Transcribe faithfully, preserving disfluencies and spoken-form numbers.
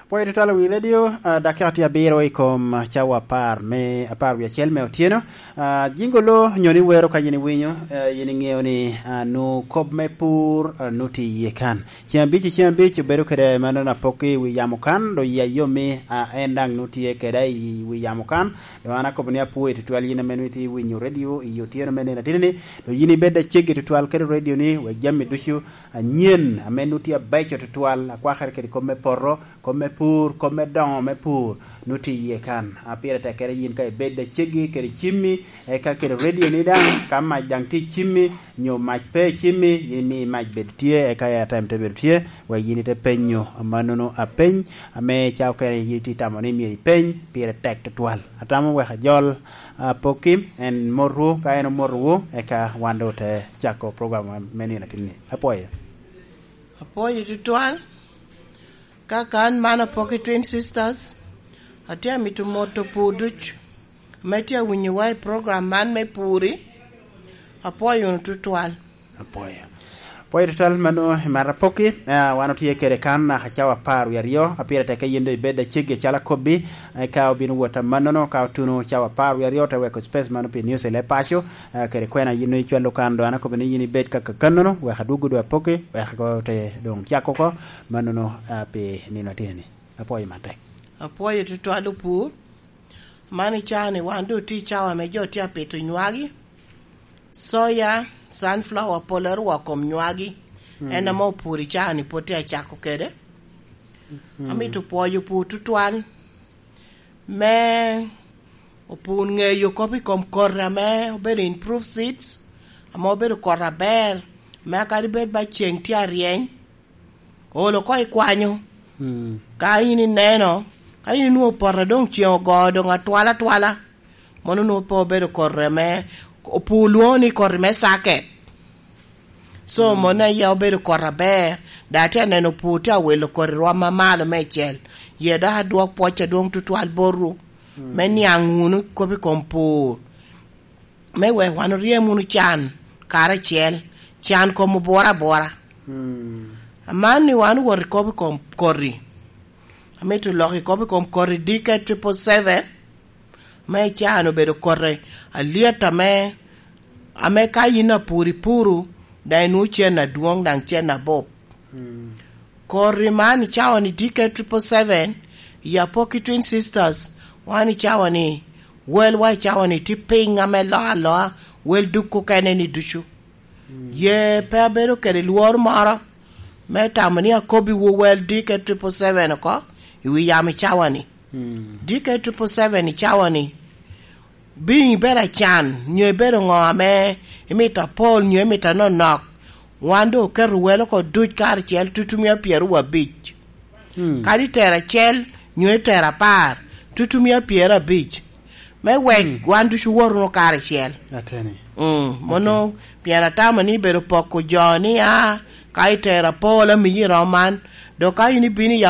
Pwoyo tutwal wi redio, ah, dakika tye abiro i kom, ah, cawa apar me, apar wie acel me otyeno. Ah, jingo lo nyo ni wero ka yin iwinyo, eh, yin iŋeo ni, ah, nu kop me pur, ah, nu tye iye kan. Ceng abic i ceng abic obedo kede mano na pok i wi yamo kan, do yi ayomi, ah, en daŋ nu tye kede i wi yamo kan. Do an akobo ni apwoyo tutwal yin ame nu itye iwinyo redio i otyeno me nino atini ni, do yin ibed aceggi tutwal kede redio ni, wek jami ducu anyen ame nu tye abeco tutwal, akwakere kede kop me poto, kop me pur, kop me doŋo me pur, nu tye iye kan. A, pire tek kede yin ka ibed aceggi kede cimmi, eka kede redio ni daŋ, ka mac daŋ tye i cimmi, nyo mac pe i cimmi, yin imi mac bed tye, eka airtime te bedo tye, wek yin ite penyo amannono apeny, ame ca okene yin itye tamo ni myero ipeny, pire tek tutwal. Atamo wek ajol, a, pokki, en motwu, ka en omotowu, eka wan doŋ ote cako program me nino atinni. Apwoyo. Apwoyo tutwal. Ka kan man apok i Twin Sisters, atye amito moto pur duc ame tye awinyowa i program man me puri. Apwoyo wunu tutwal. Apwoyo. Apwoyo tutwal mano i mar apokki. Ah, wan otye kede kan naka cawa apar wie aryo. A, pire tek ka yin doŋ ibed aceggi acalo akobbi, eh, ka obino wot amannono, ka otuno cawa apar wie aryo, te weko space mano pi news i leb paco. Ah, kede kwena yin doŋ icwalo kan, doŋ an akobo ni yin ibed ka kakannono, wek adwoggo doŋ apokki, wek ote doŋ cak oko, mannono, ah, pi nino atinni. Apwoyo matek. Apwoyo tutwal opur. Man i caa-ni wan doŋ otye i cawa ame jo tye apito nywagi. Soya, sunflower, pol erwa kom nywagi. Mm. En ame opur i caa-ni pwod tye acako kede. Mm. Amito pwoyo opur tutwal. Me opur ŋeyo kop i kom koti ame obedo improved seeds, ame obedo koti aber, me kadi bed ba ceng tye aryeny, olo oko i kwanyo. Mm. Ka in ineno, ka in inwoŋo poto doŋ ceng ogo, doŋ atwal atwala, mono nwoŋo pe obedo koti ame opur lwoŋo ni koti me circuit. So, mm, mano aye obedo koti aber, dok atye aneno pur tye awilo koti rwom mamalo meicel. Ye dok adwok pwoc adwoŋ tutwal botwu, mm, me niaŋ wunu kop i kom pur, me wek wan oryem wunu can karacel, can kom obworo abwora. Mm. Aman ni wan owot i kop i kom koti, amito lok i kop i kom koti D K triple seven, me i caa-ni obedo koti alyet ame, ame ka yin apur ipuro, daŋ inwoŋo cen adwoŋ, daŋ cen abup. Mm. Koti man i cawa-ni D K triple seven, i Apoki Twin Sisters, wan i cawa-ni, wel wa i cawa-ni tye piny ame loo aloa, wel duk okene-ni ducu. Mm. Ye pe abedo kede lworo moro me tamo ni akobbiwu wel D K triple seven oko i wi yamo i cawa-ni. Mm. D K triple seven i cawa-ni, bi ibedo acan, nyo ibedo ŋo ame imito apol, nyo imito anonok, wan doŋ oketo wel oko duc karacel tutumia pyeraryo abic. Mm. Kadi itero acel, nyo itero apar, tutumia pyeraryo abic. Me wek, mm, wan ducu wot wunu karacel. Ateni. Mm, mono, ateni, pien atamo ni bedo poko jo ni, a, ka itero apol, amiyi romo man. Dok ka in ibino i